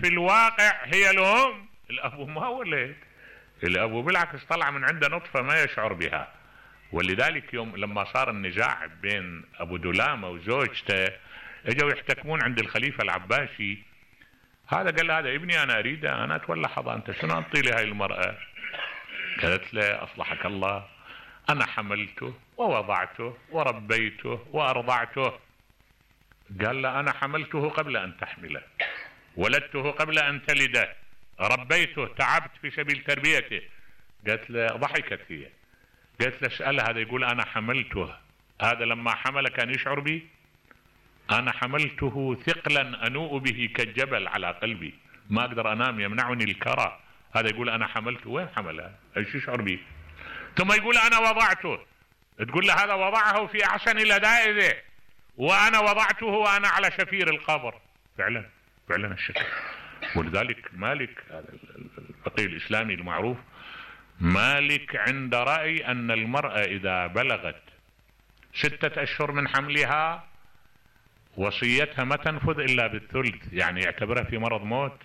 في الواقع هي الام. الابو ما ولد، الابو بالعكس طلع من عنده نطفة ما يشعر بها. ولذلك يوم لما صار النزاع بين ابو دلامة وزوجته اجوا يحتكمون عند الخليفة العباسي، هذا قال هذا ابني انا اريده انا اتولى حضانته، شنو انطي لي هاي المرأة؟ قالت له اصلحك الله انا حملته ووضعته وربيته وارضعته. قال له انا حملته قبل ان تحمله، ولدته قبل ان تلده، ربيته تعبت في سبيل تربيته. قالت له ضحكت هي، قالت له اسأل هذا يقول انا حملته، هذا لما حمل كان يشعر بي؟ انا حملته ثقلا انوء به كالجبل على قلبي، ما اقدر انام يمنعني الكرى، هذا يقول انا حملته، وين حمله؟ ايش يشعر به؟ ثم يقول انا وضعته، تقول له هذا وضعه في احسن لدائه وانا وضعته وانا على شفير القبر. فعلا فعلا الشكل. ولذلك مالك هذا الفقيه الاسلامي المعروف، مالك عند رأي ان المرأة اذا بلغت 6 اشهر من حملها وصيتها ما تنفذ الا بالثلث، يعني يعتبرها في مرض موت،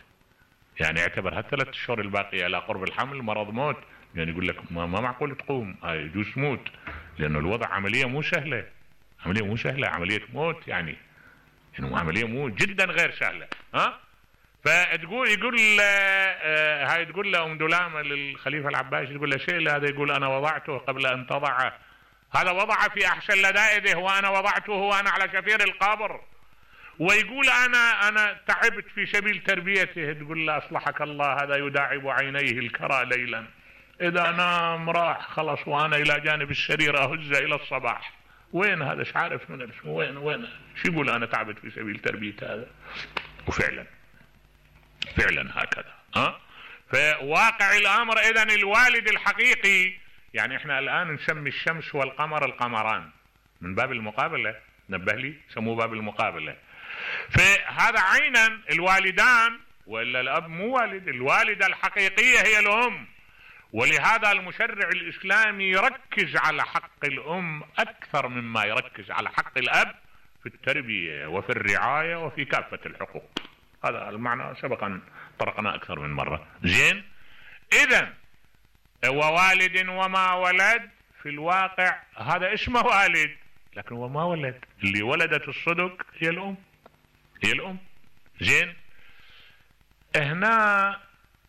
يعني يعتبرها 3 اشهر الباقية على قرب الحمل مرض موت، يعني يقول لك ما معقول تقوم، يجوز تموت، لانه الوضع عملية مو سهلة، عملية مو سهلة، عملية موت يعني عملية مو جدا غير سهلة. فتقول يقول هاي تقول له ام دلامة للخليفة العباسي، تقول له شيء هذا يقول انا وضعته قبل ان تضعه، هذا وضع في احسن لدائه وانا وضعته وانا على شفير القبر، ويقول انا تعبت في سبيل تربيته. تقول له اصلحك الله هذا يداعب عينيه الكرى ليلا، اذا نام راح خلص وانا الى جانب السرير اهز الى الصباح. وين هذا؟ مش عارف وين شو يقول انا تعبت في سبيل تربية هذا. وفعلا فعلا هكذا. فواقع الامر اذا الوالد الحقيقي، يعني احنا الان نسمي الشمس والقمر القمران من باب المقابلة، نبه لي سموه باب المقابلة. فهذا عينا الوالدان، والا الاب مو والد، الوالدة الحقيقية هي الام. ولهذا المشرع الاسلامي يركز على حق الام اكثر مما يركز على حق الاب في التربية وفي الرعاية وفي كافة الحقوق. هذا المعنى سبقا طرقنا اكثر من مرة. زين، اذا ووالد وما ولد في الواقع هذا اسمه والد، لكن هو ما ولد، اللي ولدت الصدق هي الام، هي الام. زين، هنا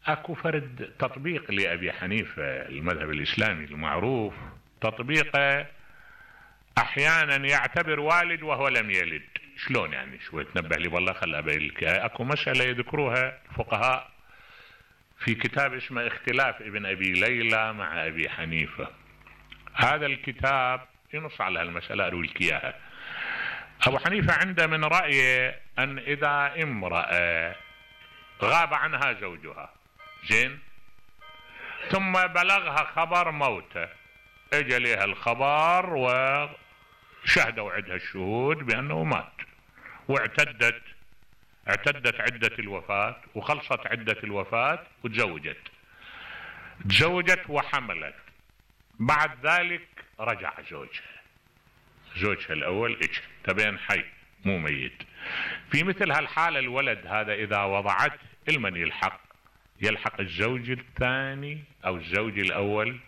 اكو فرد تطبيق لابي حنيفة المذهب الاسلامي المعروف، تطبيقه احيانا يعتبر والد وهو لم يلد. شلون يعني؟ شوي تنبه لي والله، خل ابين لك. اكو مسألة يذكروها الفقهاء في كتاب اسمه اختلاف ابن ابي ليلى مع ابي حنيفة. هذا الكتاب ينص على المسألة، اروي لك اياها. ابو حنيفة عنده من رأيه ان اذا امرأة غاب عنها زوجها، زين، ثم بلغها خبر موته، اجى لها الخبر وشهدوا عندها الشهود بانه مات، واعتدت عدة الوفاة وخلصت عدة الوفاة وتزوجت وحملت. بعد ذلك رجع زوجها الاول اجى تبين حي مو ميت. في مثل هالحالة الولد هذا اذا وضعته المن يلحق الزوج الثاني او الزوج الاول؟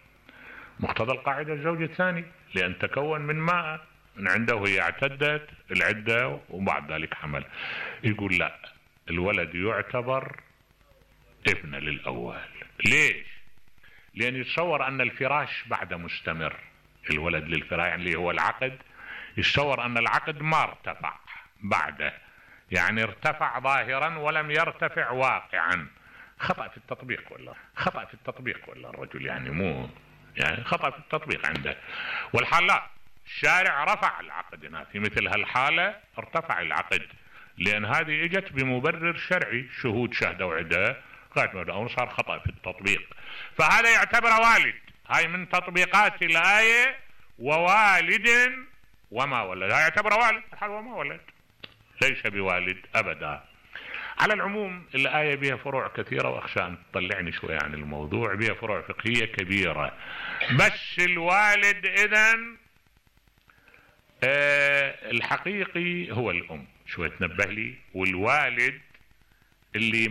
مقتضى القاعدة الزوج الثاني، لان تكون من ماء من عنده وهي اعتدت العدة وبعد ذلك حمل. يقول لا، الولد يعتبر ابن للاول. ليش؟ لان يتصور ان الفراش بعد مستمر، الولد للفراش يعني اللي هو العقد، يتصور ان العقد ما ارتفع بعده، يعني ارتفع ظاهرا ولم يرتفع واقعا. خطأ في التطبيق ولا الرجل يعني مو يعني خطأ في التطبيق عنده. والحال لا، الشارع رفع العقد هنا في مثل هالحالة، ارتفع العقد، لان هذه اجت بمبرر شرعي، شهود شهدوا عده او صار خطأ في التطبيق. فهذا يعتبر والد. هاي من تطبيقات الآية ووالد وما ولد، هاي يعتبر والد، الحال وما ولد ليس بوالد ابدا. على العموم الآية بها فروع كثيرة، واخشى ان تطلعني شوية عن الموضوع، بها فروع فقهية كبيرة. بس الوالد اذن الحقيقي هو الام، شوية تنبه لي. والوالد اللي